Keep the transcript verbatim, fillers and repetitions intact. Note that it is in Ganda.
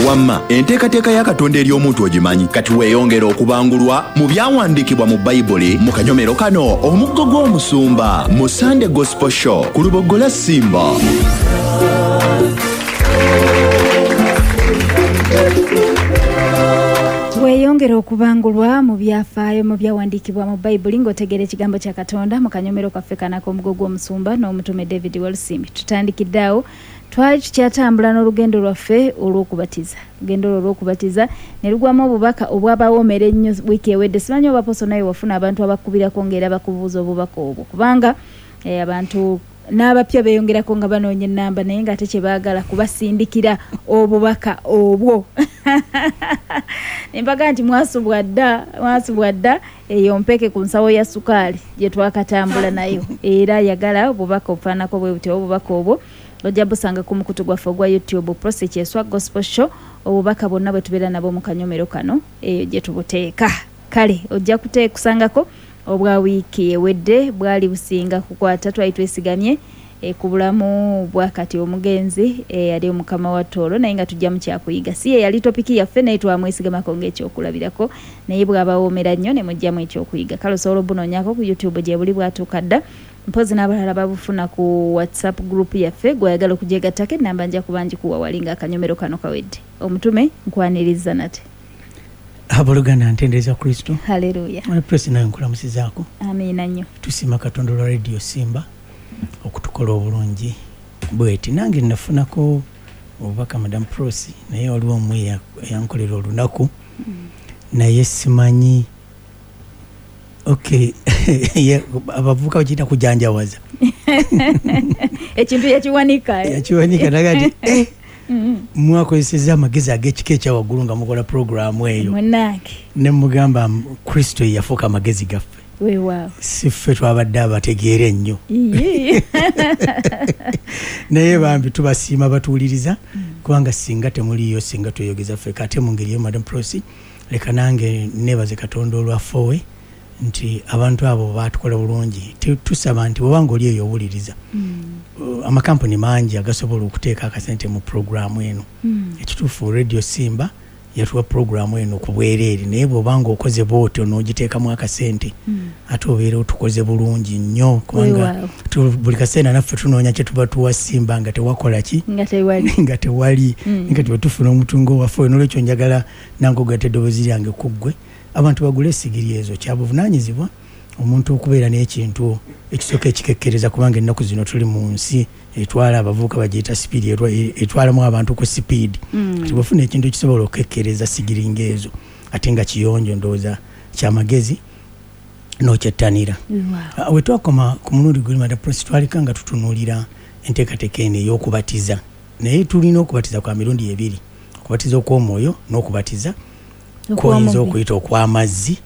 Wamma enteekateeka ya Katonda eri omuntu ogimanyi. Kati weeyongera okubangulwa mu byawandiikibwa mu Bayibuli mu kanyomero kano Omuggo gw'Omusumba mu Sunday Gospel Show ku Luboggola Simba. Weeyongera okubangulwa mu byafaayo mu byawandiikibwa mu Bayibuli ng'otegeera ekigambo kya Katonda mu kanyomero kaffe kano ak'Omuggo gw'Omusumba n'omutume David Walusimbi. Tutandikidde awo, twali tukyatambula n'olugendo lwaffe olw'okubatiza. Olugendo olwo olw'okubatiza ne lugwamu obubaka obwabawoomera ennyo wiiki ewedde. Simanyi oba Poso naye wafuna abantu abakubirako ng'era bakubuuza obubaka obwo, kubanga eh, abantu n'abapya beeyongerako nga banoonya ennamba naye ng'ate kye baagala kubasindikira obubaka obwo. Nembaga nti mwasubwa dda, mwasubwa dda eyo mpeke ku nsawo ya sukaali gye twakatambula nayo. Era yagala obubaka obufaananako bwe butyo. Obubaka obwo ojja busanga ku mukutu gwaffe ogwa YouTube, Prossy Kyeswa Gospel Show. Obubaka bwonna bwe tubeera nabwo mu kanyomero kano eyo gye tubuteeka. Kale ojja kusangako obwa wiiki ewedde bwali businga kukwata, twali twesigamye e, ku bulamu bwa kati omugenzi eyali e, omukama wa Tooro, naye nga tujja mu kyakuyiga. Si ye yali topiki yaffe, naye twamwesigamako ng'ekyokulabirako, naye bw'abawoomera nnyo ne mujjamu ekyokuyiga. Kale osobola obunoonyaako ku YouTube gye buli bwatuuka dda. Mpozi n'abalala babufuna ku WhatsApp group yaffe. Gw'oyagala okugyegattako ennamba nja kuba ngikuwa wali ng'akanyomero kano kawedde. Omutume nkwaniriza nate. Abooluganda, ntendereza Kristo. Haleluya. Prossy nawe nkulamusizaako. Amiina nnyo. Tusiima Katonda olwa Radio Simba okutukola obulungi bweti. Nange nafunako obubaka Madam Prossy, naye waliwo omu eyankolera olunaku naye simanyi. Okay, abavubuka bakiyita kujanjawaza. Ekintu yakiwanika. Yakiwanika naga nti eh, mwakozesezza amagezi ag'ekika ekyawaggulu nga mukola puroguraamu eyo. Munnange. Ne mugamba Kristo ye yafuuka amagezi gaffe. Weewaawo. Si ffe twabadde abategeera ennyo. Naye bambi tubasiima batuwuliriza, kubanga singa temuliyo singa tweyogeza ffekka. Ate mu ngeri eyo Madam Prossy, leka nange neebaze Katonda olwaffe nti abantu abo baatukola bulungi. Tusaba nti bw'obanga oli eyo owuliriza, amakampuni mangi agasobola okuteeka akasente mu puroguraamu eno. Ekituufu Radio Simba yatuwa puroguraamu eno ku bwereere, naye bw'obanga okoze bw'otyo n'ogiteekamu akasente, ate obeera otukoze bulungi nnyo, kubanga buli kaseera naffe tunoonya kye tuba tuwa Simba nga tewakola ki, nga tewali, nga tuba tufuna omutungo waffe. Noolwekyo njagala nange ogatta eddoboozi lyange ku ggwe, abantu bagule essigiri ezo. Kyabuvunaanyizibwa omuntu okubeera n'ekintu ekisooka ekikekkereza, kubanga ennaku zino tuli mu nsi etwala abavubuka bagiyita sipiidi, etwalamu abantu ku sipiidi. Kati bw'ofuna ekintu ekisobola okukekkereza sigiri ng'ezo ate nga kiyonjo, ndowooza kyamagezi n'okyettanira. We twakoma ku mulundi guli Madam Prossy, twalika nga tutunuulira enteekateeka eno ey'okubatiza, naye tulina okubatiza kwa mirundi ebiri: okubatiza okw'omwoyo n'okubatiza kwoyinza okuyita okw'amazzi.